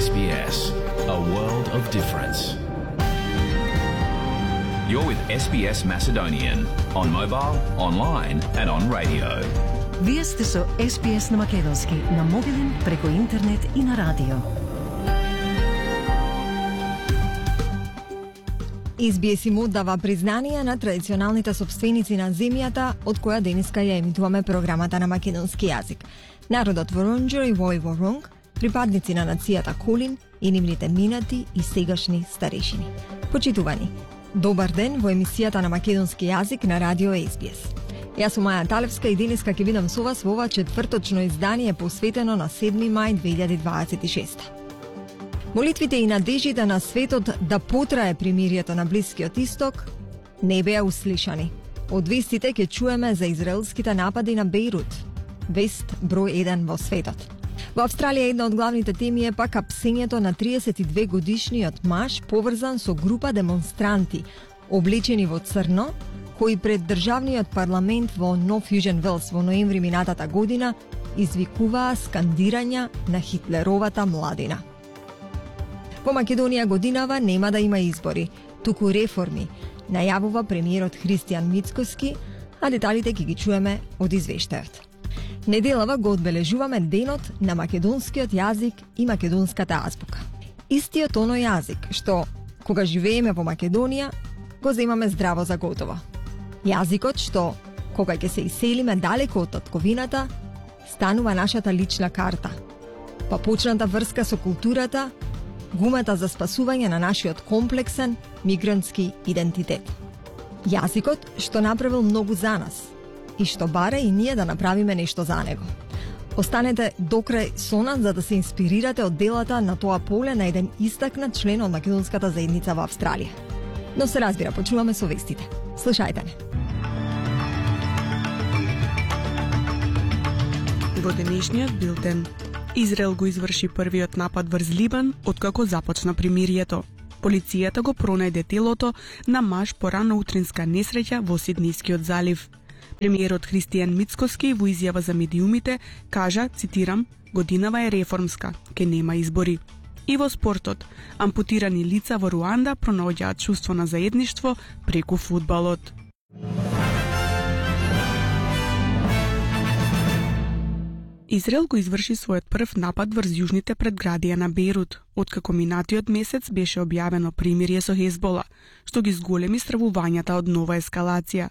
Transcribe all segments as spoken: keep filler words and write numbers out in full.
S B S, a world of difference. You're with S B S Macedonian on mobile, online and on radio. Вие сте со С Б С на македонски, на мобилен, преку интернет и на радио. С Б С му дава признание на традиционалните собственици на земјата, од која денеска ја емитуваме програмата на македонски јазик. Народот Воронџер и Вој Воронг, припадници на нацијата Колин и нивните минати и сегашни старешини. Почитувани, добар ден во емисијата на македонски јазик на радио С Б С. Јас сум Маја Талевска и денеска ќе бидам со вас во ова четврточно издание посветено на седми мај две илјади дваесет и шеста. Молитвите и надежите на светот да потрае примирието на Блискиот Исток не беа услишани. Од вестите ќе чуеме за израелските напади на Бејрут, вест број еден во светот. Во Австралија една од главните теми е пак апсењето на триесет и две годишниот маж поврзан со група демонстранти, облечени во црно, кои пред државниот парламент во Нов Јужен Велс во ноември минатата година извикуваа скандирања на Хитлеровата младина. Во Македонија годинава нема да има избори, туку реформи, најавува премиерот Христијан Мицкоски, а деталите ќе ги чуеме од извештајот. Неделава го одбележуваме денот на македонскиот јазик и македонската азбука. Истиот оној јазик што, кога живееме во Македонија, го земаме здраво за готово. Јазикот што, кога ќе се иселиме далеко од татковината, станува нашата лична карта. Па почната врска со културата, гумата за спасување на нашиот комплексен мигрантски идентитет. Јазикот што направил многу за нас и што бара и ние да направиме нешто за него. Останете докрај со нас за да се инспирирате од делата на тоа поле на еден истакнат член од македонската заедница во Австралија. Но се разбира, почуваме со вестите. Слушајте не. Во денешниот билтен, Израел го изврши првиот напад врз Либан откако започна примирието. Полицијата го пронајде телото на маж по рано утринска несреќа во Сиднискиот залив. Премиерот Христијан Мицкоски во изјава за медиумите кажа, цитирам, годинава е реформска, ке нема избори. И во спортот, ампутирани лица во Руанда пронаоѓаат чувство на заедништво преку фудбалот. Израел го изврши својот прв напад врз јужните предградија на Бејрут, откако минатиот месец беше објавено примирие со Хезбола, што ги зголеми стравувањата од нова ескалација.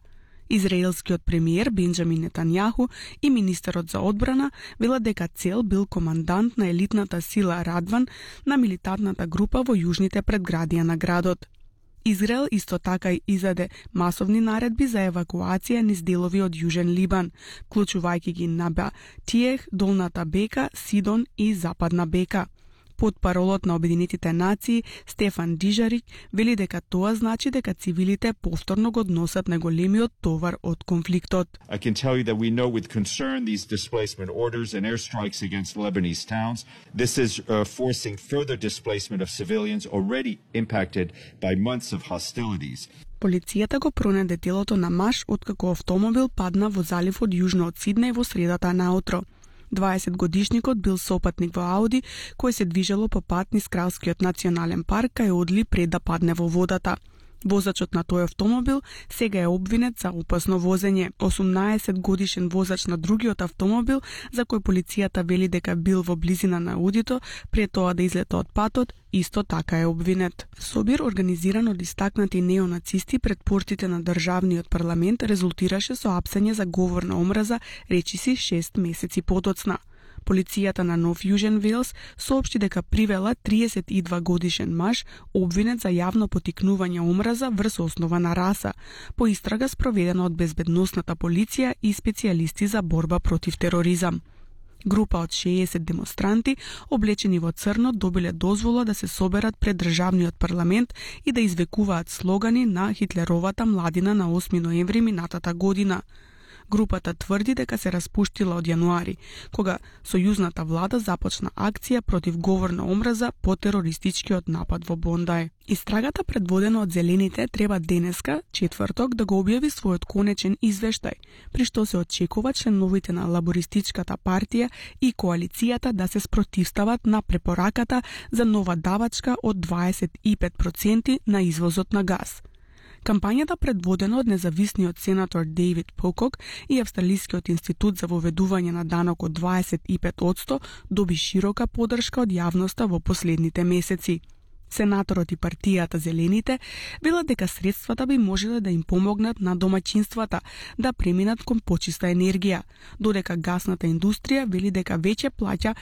Израелскиот премиер Бенџамин Нетањаху и министерот за одбрана велат дека цел бил командант на елитната сила Радван на милитантната група во јужните предградија на градот. Израел исто така и издаде масовни наредби за евакуација низ делови од Јужен Либан, вклучувајќи ги Наба Тиех, Долната Бека, Сидон и Западна Бека. Под паролот на Обединетите нации, Стефан Дижарик вели дека тоа значи дека цивилите повторно го односат најголемиот товар од конфликтот. I can tell you that we know with concern these displacement orders and airstrikes against Lebanese towns. This is uh, forcing further displacement of civilians already impacted by months of hostilities. Полицијата го пронајде телото на маж откако автомобил падна во заливот јужно од Сиднеј во средата наутро. дваесетгодишникот бил сопатник во Ауди кој се движело по пат низ Кралскиот национален парк кај одли пред да падне во водата. Возачот на тој автомобил сега е обвинет за опасно возење. осумнаесетгодишен возач на другиот автомобил, за кој полицијата вели дека бил во близина на Аудито пред тоа да излета од патот, исто така е обвинет. Собир организиран од истакнати неонацисти пред портите на државниот парламент резултираше со апсење за говор на омраза, речиси шест месеци потоцна. Полицијата на Нов Јужен Велс соопшти дека привела триесет и два годишен маж обвинет за јавно потикнување омраза врз основа на раса, по истрага спроведена од безбедносната полиција и специјалисти за борба против тероризам. Група од шеесет демонстранти, облечени во црно, добиле дозвола да се соберат пред државниот парламент и да извекуваат слогани на Хитлеровата младина на осми ноември минатата година. Групата тврди дека се распуштила од јануари, кога сојузната влада започна акција против говор на омраза по терористичкиот напад во Бондај. Истрагата предводена од Зелените треба денеска, четврток, да го објави својот конечен извештај, при што се очекува членовите на Лабористичката партија и коалицијата да се спротивстават на препораката за нова давачка од дваесет и пет проценти на извозот на газ. Кампањата, предводена од независниот сенатор Дейвид Покок и Австралискиот институт за воведување на данок од дваесет и пет одсто, доби широка поддршка од јавноста во последните месеци. Сенаторот и партијата Зелените велат дека средствата би можеле да им помогнат на домаќинствата да преминат кон почиста енергија, додека гасната индустрија вели дека веќе плаќа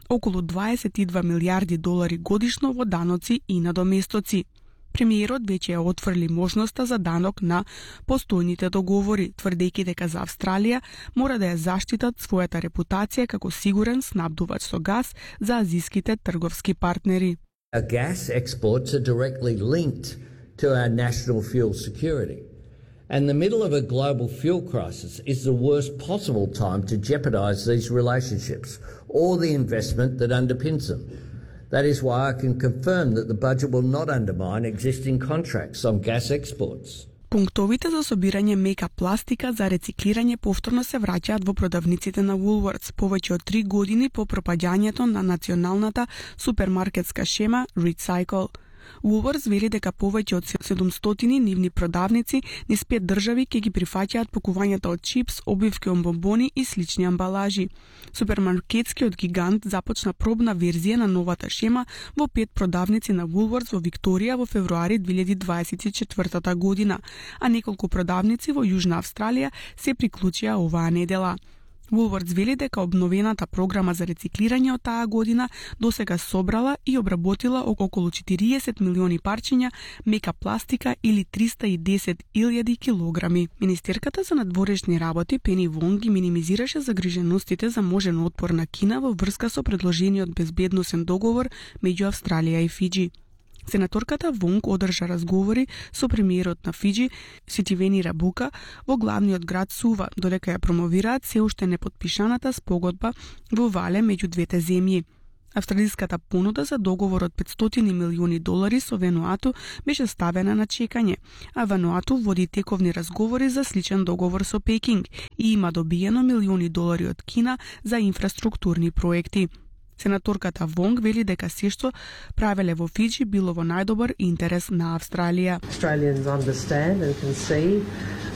околу дваесет и два милијарди долари годишно во даноци и надоместоци. Премиерот веќе ја отфрли можноста за данок на постојните договори, тврдејќи дека за Австралија мора да ја заштитат својата репутација како сигурен снабдувач со газ за азиските трговски партнери. Our gas exports are directly linked to our national fuel security. And the middle of a global fuel crisis is the worst possible time to jeopardise these relationships or the investment that underpins them. That is why I can confirm that the budget will not undermine existing contracts on gas exports. Пунктовите за собирање мека пластика за рециклирање повторно се враќаат во продавниците на Woolworths повеќе од три години по пропаѓањето на националната супермаркетска шема Recycle. Woolworths вели дека повеќе од седумстотини нивни продавници низ пет држави ќе ги прифаќаат пакувањата од чипс, обивки од бомбони и слични амбалажи. Супермаркетскиот гигант започна пробна верзија на новата шема во пет продавници на Woolworths во Викторија во февруари две илјади дваесет и четвртата година, а неколку продавници во Јужна Австралија се приклучија оваа недела. Woolworths вели дека обновената програма за рециклирање од таа година досега собрала и обработила околу четириесет милиони парчиња мека пластика или триста и десет илјади килограми. Министерката за надворешни работи Пени Вонг ги минимизираше загриженостите за можен отпор на Кина во врска со предложениот безбедносен договор меѓу Австралија и Фиџи. Сенаторката Вонг одржа разговори со премиерот на Фиџи Ситивени Рабука во главниот град Сува, додека ја промовираат се уште непотпишаната спогодба во Вале меѓу двете земји. Австралиската понуда за договор од петстотини милиони долари со Вануату беше ставена на чекање, а Вануату води тековни разговори за сличен договор со Пекинг и има добиено милиони долари од Кина за инфраструктурни проекти. Сенаторката Вонг вели дека се што правеле во Фиџи било во најдобар интерес на Австралија. Australians understand and can see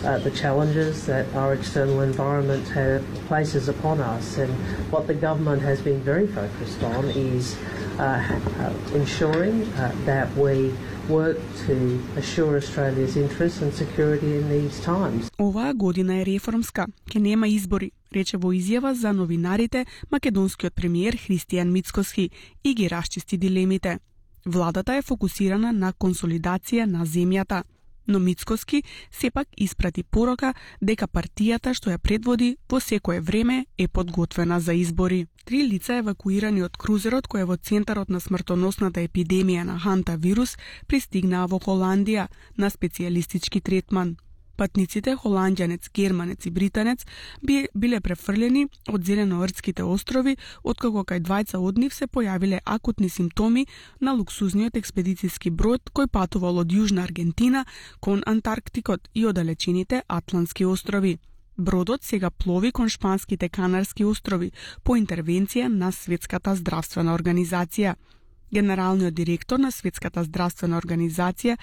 uh, the challenges that our external environment have, places upon us, and what the government has been very focused on is uh, uh, ensuring uh, that we work to assure Australia's interests and security in these times. Оваа година е реформска, ке нема избори, рече во изјава за новинарите македонскиот премиер Христијан Мицкоски и ги расчисти дилемите. Владата е фокусирана на консолидација на земјата, но Мицкоски сепак испрати порока дека партијата што ја предводи во секое време е подготвена за избори. Три лица евакуирани од крузерот кој е во центарот на смртоносната епидемија на ханта вирус пристигнаа во Холандија на специјалистички третман. Патниците, холанѓанец, германец и британец, би, биле префрлени од Зеленоордските острови, откако кај двајца од нив се појавиле акутни симптоми на луксузниот експедициски брод кој патувал од Јужна Аргентина кон Антарктикот и оддалечените Атлантски острови. Бродот сега плови кон шпанските Канарски острови по интервенција на Светската здравствена организација. Генералниот директор на Светската здравствена организација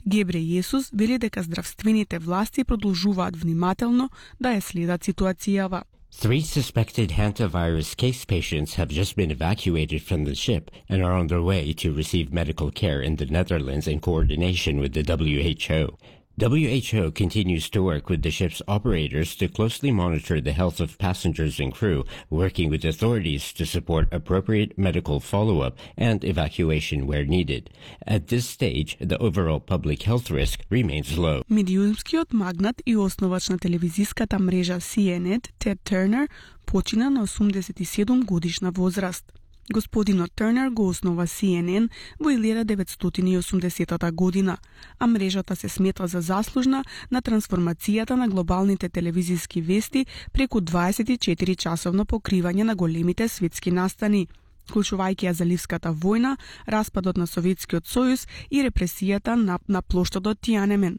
Гебре Јесус вели дека здравствените власти продолжуваат внимателно да ја следат ситуацијава. Three suspected hantavirus case patients have just been evacuated from the ship and are on their way to receive medical care in the Netherlands in coordination with the W H O. W H O continues to work with the ship's operators to closely monitor the health of passengers and crew, working with authorities to support appropriate medical follow-up and evacuation where needed. At this stage, the overall public health risk remains low. Медиумскиот магнат и основач на телевизиската мрежа Си Ен Ен, Тед Тернер, почина на осумдесет и седум годишна возраст. Господинот Тернер го основа Си Ен Ен во илјада деветстотини и осумдесетата година, а мрежата се смета за заслужна на трансформацијата на глобалните телевизиски вести преку дваесет и четири часовно покривање на големите светски настани, вклучувајќи ја Заливската војна, распадот на Советскиот сојуз и репресијата на, на плоштадот Тијанемен.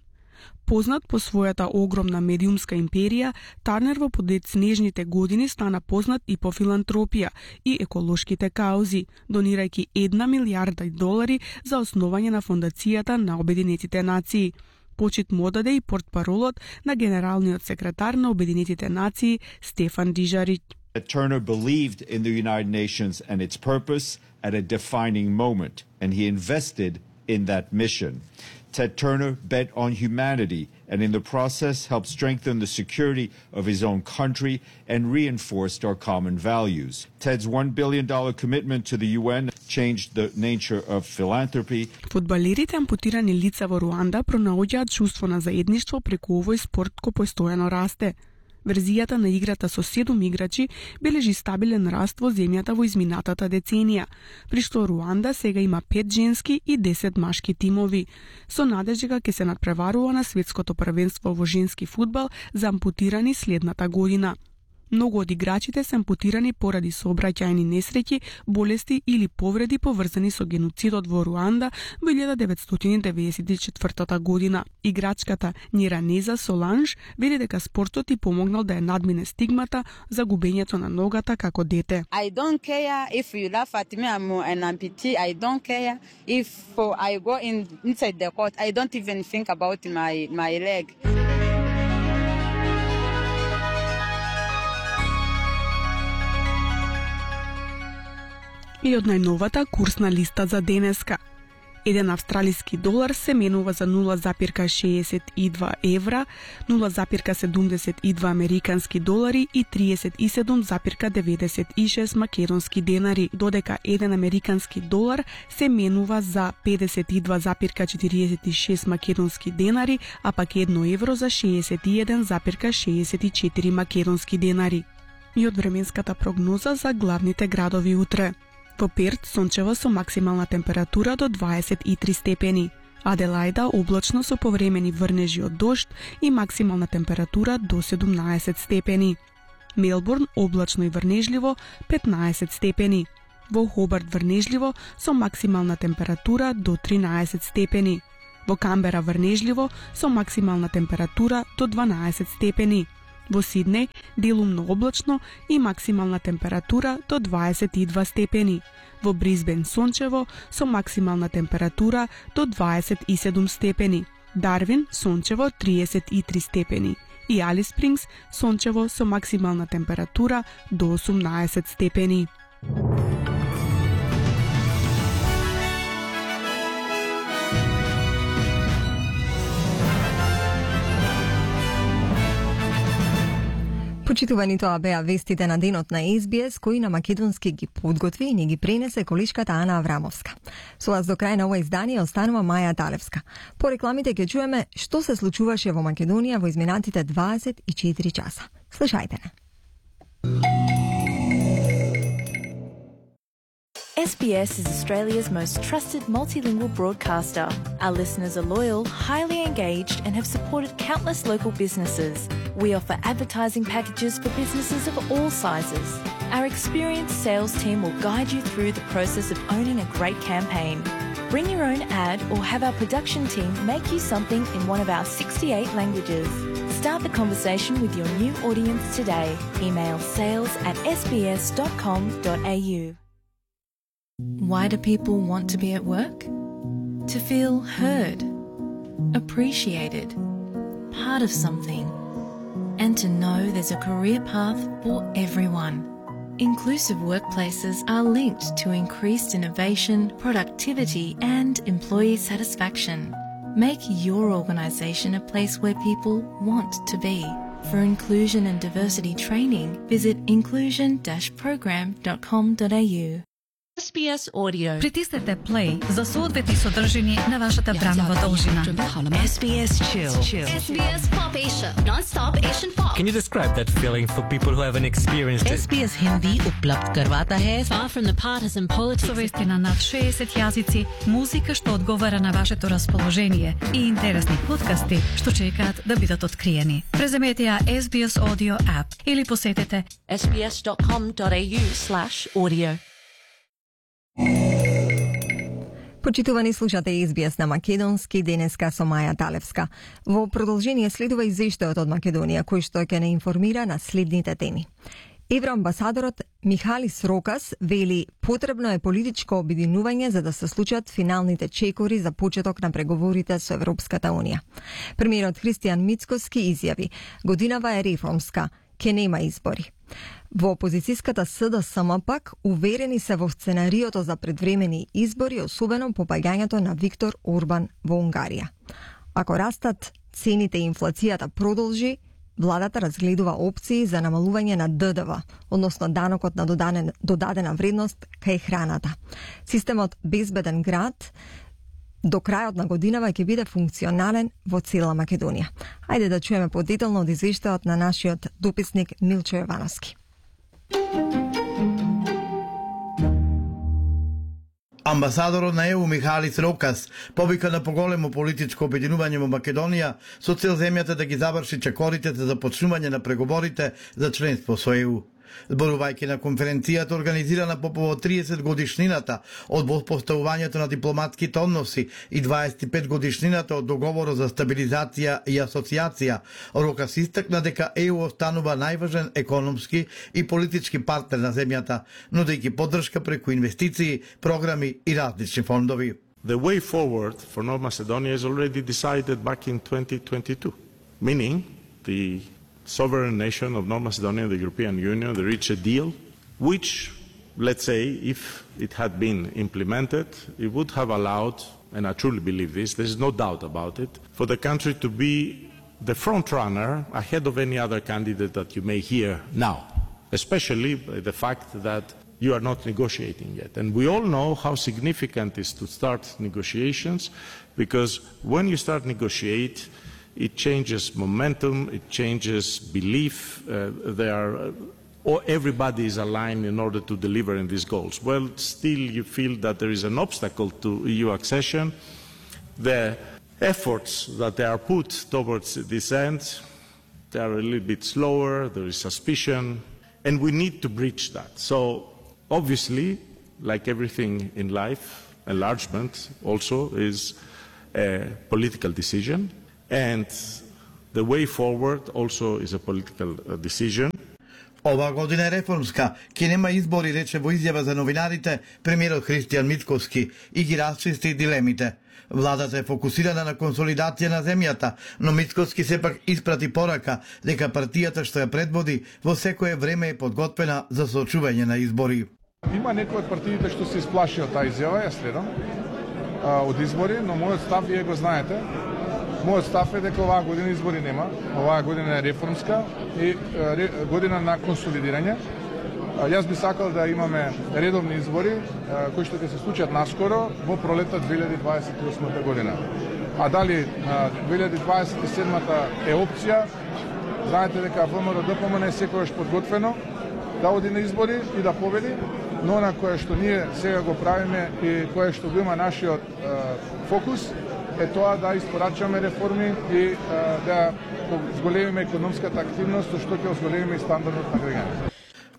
Познат по својата огромна медиумска империја, Тарнер во подетснежните години стана познат и по филантропија и еколошките каузи, донирајќи една милијарда долари за основање на фондацијата на Обединетите нации. Почит му одаде и портпаролот на генералниот секретар на Обединетите нации Стефан Дужарик. Turner believed in the United Nations and its purpose at a defining moment, and he invested in that mission. Ted Turner bet on humanity and in the process helped strengthen the security of his own country and reinforced our common values. Ted's one billion dollars commitment to the U N changed the nature of philanthropy. Фудбалерите ампутирани лица во Руанда пронаоѓаат чувство на заедништво преку овој спорт кој постојано расте. Верзијата на играта со седум играчи бележи стабилен раст во земјата во изминатата деценија, при што Руанда сега има пет женски и десет машки тимови, со надежда дека ќе се надпреварува на светското првенство во женски фудбал за ампутирани следната година. Многу од играчите се ампутирани поради сообраќајни несреќи, болести или повреди поврзани со геноцидот во Руанда во илјада деветстотини деветдесет и четвртата година. Играчката Ниранеза Соланж вели дека спортот и помогнал да ја надмине стигмата за губењето на ногата како дете. I don't care if you laugh at me, I'm an amputee. I don't care if I go in inside the court. I don't even think about my my leg. И од најновата курсна листа за денеска. Еден австралиски долар се менува за нула запирка шеесет и два евра, нула запирка седумдесет и два американски долари и триесет и седум запирка деветдесет и шест македонски денари, додека еден американски долар се менува за педесет и два запирка четириесет и шест македонски денари, а пак едно евро за шеесет и еден запирка шеесет и четири македонски денари. И од временската прогноза за главните градови утре. Во Перт сончево со максимална температура до дваесет и три степени. Аделајда облачно со повремени врнежи од дожд и максимална температура до седумнаесет степени. Мелбурн облачно и врнежливо петнаесет степени. Во Хобарт врнежливо со максимална температура до тринаесет степени. Во Камбера врнежливо со максимална температура до дванаесет степени. Во Сиднеј делумно облачно и максимална температура до дваесет и два степени. Во Брисбен сончево со максимална температура до дваесет и седум степени. Дарвин сончево триесет и три степени. И Алис Спрингс сончево со максимална температура до осумнаесет степени. Почитувани, тоа беа вестите на денот на Ес Би Ес, кои на македонски ги подготви и ни ги пренесе колишката Ана Аврамовска. Со вас до крај на ова издание останува Маја Талевска. По рекламите ќе чуеме што се случуваше во Македонија во изминатите дваесет и четири часа. Слушајте не. Ес Би Ес is Australia's most trusted multilingual broadcaster. Our listeners are loyal, highly engaged, and have supported countless local businesses. We offer advertising packages for businesses of all sizes. Our experienced sales team will guide you through the process of owning a great campaign. Bring your own ad or have our production team make you something in one of our sixty-eight languages. Start the conversation with your new audience today. Email sales at s b s dot com dot a u. Why do people want to be at work? To feel heard, appreciated, part of something, and to know there's a career path for everyone. Inclusive workplaces are linked to increased innovation, productivity, and employee satisfaction. Make your organisation a place where people want to be. For inclusion and diversity training, visit inclusion dash program dot com dot a u. S B S Audio. Притиснете play за соодветни содржини на вашата бранова должина. S B S Chill. S B S Pop Asia. Non-stop Asian pop. Can you describe that feeling for people who haven't experienced it? S B S Hindi उपलब्ध करवाता है far from the partisan politics. Совести на над шеесет јазици, музика што одговара на вашето расположение и интересни подкасти што чекаат да бидат откриени. Преземете ја S B S Audio app или посетете S B S dot com dot A U slash audio. Почитувани, слушате Ес Би Ес на македонски, денеска со Маја Талевска. Во продолжение следува извештајот од Македонија, кој што ќе не информира на следните теми. Евроамбасадорот Михалис Рокас вели потребно е политичко обединување за да се случат финалните чекори за почеток на преговорите со Европската Унија. Премиерот Христијан Мицкоски изјави: годинава е реформска, ке нема избори. Во опозицијската С Д С М пак уверени се во сценариото за предвремени избори, особено по паѓањето на Виктор Орбан во Унгарија. Ако растат цените и инфлацијата продолжи, владата разгледува опции за намалување на Д Д В, односно данокот на додадена, додадена вредност кај храната. Системот Безбеден град до крајот на годинава ќе биде функционален во цела Македонија. Ајде да чуеме подетално од извештајот на нашиот дописник Милчо Јовановски. Амбасадорот на Е У Михалис Рокас повика на поголемо политичко обединување во Македонија со цел земјата да ги заврши чекорите за започнување на преговорите за членство со Е У. Зборувајќи на конференцијата организирана по повод триесет годишнината од воспоставувањето на дипломатските односи и дваесет и пет годишнината од договорот за стабилизација и асоциација, Рокас истакна дека Е У останува најважен економски и политички партнер на земјата, нудејќи поддршка преку инвестиции, програми и различни фондови. The way forward for North Macedonia is already decided back in twenty twenty-two, meaning the sovereign nation of North Macedonia and the European Union, they reached a deal which, let's say, if it had been implemented, it would have allowed, and I truly believe this, there's no doubt about it, for the country to be the front runner ahead of any other candidate that you may hear now, especially by the fact that you are not negotiating yet. And we all know how significant it is to start negotiations, because when you start negotiate, it changes momentum, it changes belief, uh, there are, uh, or everybody is aligned in order to deliver in these goals. Well, still you feel that there is an obstacle to E U accession. The efforts that they are put towards this end, they are a little bit slower, there is suspicion, and we need to breach that. So obviously, like everything in life, enlargement also is a political decision. And the way forward also is a political decision. Ова година е реформска, ке нема избори, рече во изјава за новинарите премиерот Христијан Мицкоски и ги расчисти дилемите. Владата е фокусирана на консолидација на земјата, но Мицкоски сепак испрати порака дека партијата што ја предводи во секое време е подготвена за соочување на избори. Има некои од партиите што се исплаши од таа изјава, ја следам, од избори, но мојот став вие го знаете. Мојот став е дека оваа година избори нема, оваа година е реформска и ре, година на консолидирање. Јас би сакал да имаме редовни избори кои што ќе се случат наскоро во пролетта две илјади дваесет и осма година. А дали две илјади дваесет и седма е опција, знаете дека Вэ М Р Д П М Н е секогаш подготвено да оди на избори и да победи, но на кое што ние сега го правиме и кое што го има нашиот фокус е тоа да испорачаме реформи и а, да зголемиме економската активност, со што ќе зголемиме и стандардот на граѓаните.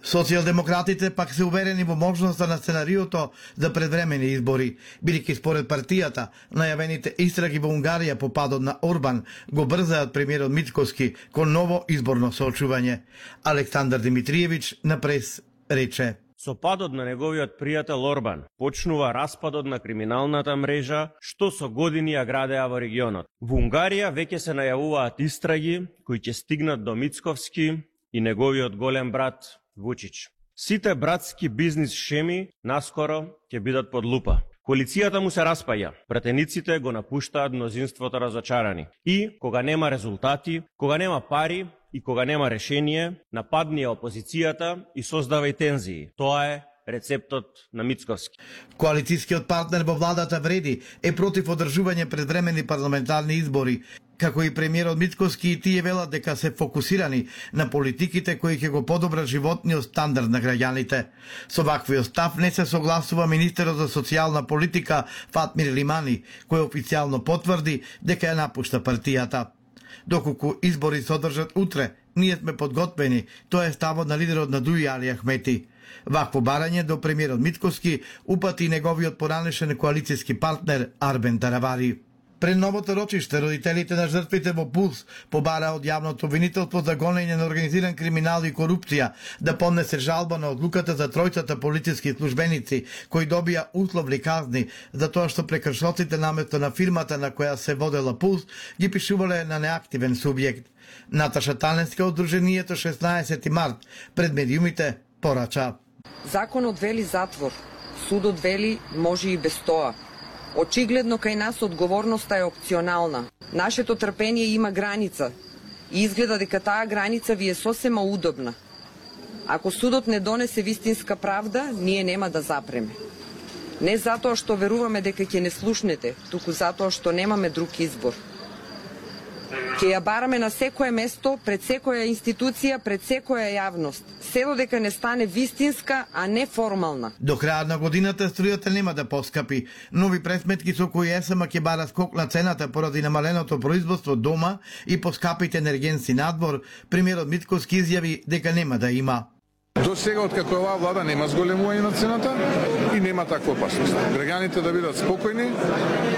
Социјалдемократите пак се уверени во можноста на сценариото за предвремени избори, бидејќи според партијата најавените истраги во Унгарија по падот на Орбан го брзаат премиерот Мицкоски кон ново изборно соочување. Александар Димитриевиќ на прес рече: Со падот на неговиот пријател Орбан почнува распадот на криминалната мрежа што со години ја градеа во регионот. Во Унгарија веќе се најавуваат истраги кои ќе стигнат до Мицковски и неговиот голем брат Вучич. Сите братски бизнис шеми наскоро ќе бидат под лупа. Коалицијата му се распаја, пратениците го напуштаат мнозинството разочарани. И кога нема резултати, кога нема пари и кога нема решение, нападни опозицијата и создава и тензии. Тоа е рецептот на Мицковски. Коалицијскиот партнер во владата Вреди е против одржување предвремени парламентарни избори, како и премиерот Мицковски и тие велат дека се фокусирани на политиките кои ќе го подобрат животниот стандард на граѓаните. Со ваквиот став не се согласува министерот за социјална политика Фатмир Лимани, кој официјално потврди дека ја напушта партијата. Доколку избори се одржат утре, ние сме подготвени, тоа е ставот на лидерот на Дуи Али Ахмети. Вакво барање до премиерот Мицковски упати неговиот поранешен коалицијски партнер Арбен Таравари. Пред новото рочиште, родителите на жртвите во Пулс побара од јавното обвинителство за гонење на организиран криминал и корупција да поднесе жалба на одлуката за тројцата полициски службеници кои добија условни казни за тоа што прекршоците наместо на фирмата на која се водела Пулс ги пишувале на неактивен субјект. Наташа Таневска од Друженијето шеснаесети март пред медиумите порача. Законот вели затвор, судот вели може и без тоа. Очигледно кај нас одговорноста е опционална. Нашето трпение има граница и изгледа дека таа граница ви е сосема удобна. Ако судот не донесе вистинска правда, ние нема да запреме. Не затоа што веруваме дека ќе не слушнете, туку затоа што немаме друг избор. Ќе ја бараме на секое место, пред секоја институција, пред секоја јавност. Се додека не стане вистинска, а не формална. До крајот на годината струјата нема да поскапи. Нови пресметки со кои ЕСМ ќе бара скок на цената поради намаленото производство дома и поскапите енергенци надвор, премиерот Мицковски изјави дека нема да има. До сега, откако оваа влада нема зголемување на цената и нема таква опасност. Граѓаните да бидат спокојни,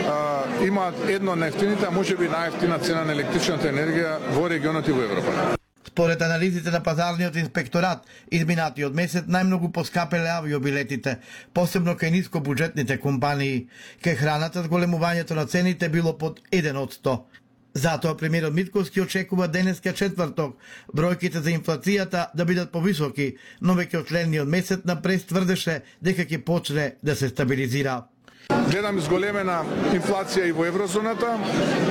а, имаат едно од најефтините, а може би најефтина цена на електричната енергија во регионот и во Европа. Според анализите на пазарниот инспекторат, изминатиот месец најмногу поскапеле авиобилетите, посебно кај нискобуџетните компании. Кај храната зголемувањето на цените било под еден од сто. Затоа премиерот Мицковски очекува денеска четврток бројките за инфлацијата да бидат повисоки, но веќе од следниот месец напред тврдеше дека ќе почне да се стабилизира. Гледам зголемена инфлација и во еврозоната.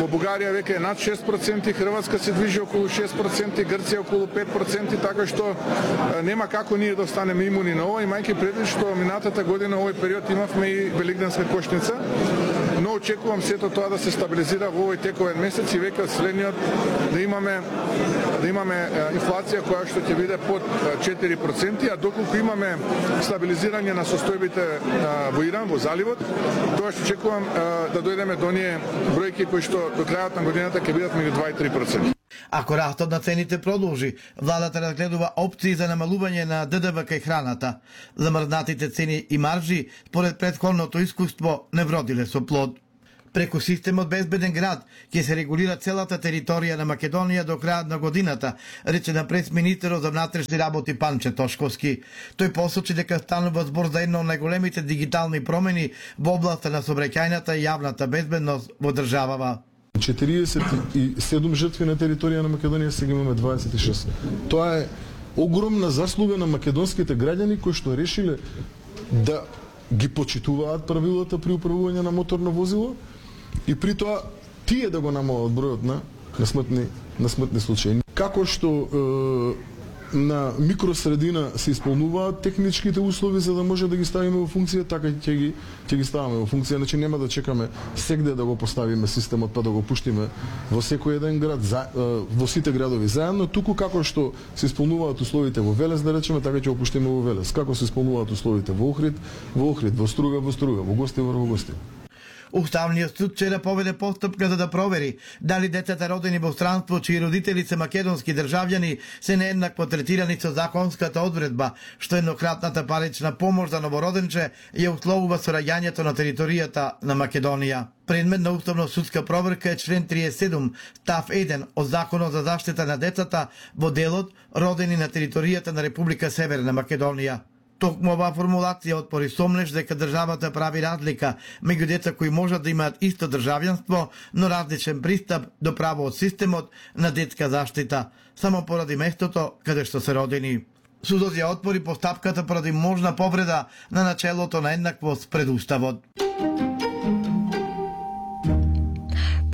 Во Бугарија веќе е над шест проценти, Хрватска се движи околу шест проценти, Грција околу пет проценти, така што нема како ние да останеме имуни на ова, имајќи предвид што минатата година овој период имавме и Великденска кошница, но очекувам сето тоа да се стабилизира во овој тековен месец и веќе од следниот да имаме да имаме инфлација која што ќе биде под четири проценти, а доколку имаме стабилизирање на состојбите во Иран, во заливот, тоа што очекувам да дојдеме до оние бројки кои што до крајот на годината ќе бидат меѓу два и три проценти. Ако растот на цените продолжи, владата разгледува опции за намалување на ДДВ кај храната. Замрзнатите цени и маржи, според претходното искуство, не вродиле со плод. Преку системот Безбеден град ќе се регулира целата територија на Македонија до крајот на годината, рече на пресминистерот за внатрешни работи Панче Тошковски. Тој посочи дека станува збор за едно од најголемите дигитални промени во областа на сообраќајната и јавната безбедност во државава. четириесет и седум жртви на територија на Македонија, сега имаме дваесет и шест. Тоа е огромна заслуга на македонските граѓани кои што решиле да ги почитуваат правилата при управување на моторно возило и при тоа тие да го намалат бројот на, на смртни на смртни случаи. Како што е, на микросредина се исполнуваат техничките услови за да може да ги ставиме во функција, така ќе ги ќе ги ставиме во функција, значи нема да чекаме сегде да го поставиме системот па да го пуштиме во секој еден град, за, во сите градови заедно, туку како што се исполнуваат условите во Велес, да речеме, така ќе го пуштиме во Велес. Како се исполнуваат условите во Охрид, во Охрид, во Струга, во Струга, во Гостивар, во Гостивар. Уставниот суд вчера поведе постапка за да провери дали децата родени во странство чии родители се македонски државјани се нееднакво третирани со законската одредба, што еднократната парична помош за новороденче ја условува со раѓањето на територијата на Македонија. Предмет на уставно-судска проверка е член триесет и седум, став еден од Законот за заштита на децата во делот родени на територијата на Република Северна Македонија. Токму оваа формулација отпори сомнеш дека државата прави разлика меѓу деца кои можат да имаат исто државјанство, но различен пристап до право од системот на детска заштита, само поради местото каде што се родени. Судот ја отпори постапката поради можна повреда на начелото на еднаквост пред Уставот.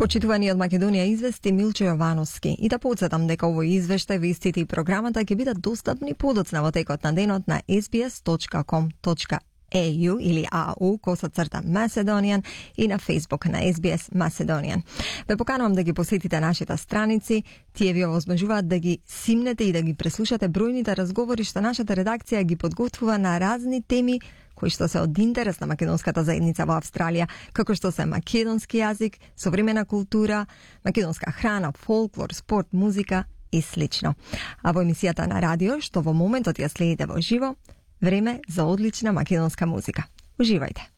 Почитувани од Македонија извести Милчо Јовановски. И да подсетам дека овој извештај, вестите и програмата ќе бидат достапни подоцна во текот на денот на ес би ес точка ком точка е ю или а у косацрта Macedonian и на Facebook на ес би ес Macedonian. Ве поканувам да ги посетите нашите страници, тие ви овозможуваат да ги симнете и да ги преслушате бројните разговори што нашата редакција ги подготвува на разни теми кои што се од интерес на македонската заедница во Австралија, како што се македонски јазик, современа култура, македонска храна, фолклор, спорт, музика и слично. А во емисијата на радио, што во моментот ја следите во живо, време за одлична македонска музика. Уживајте!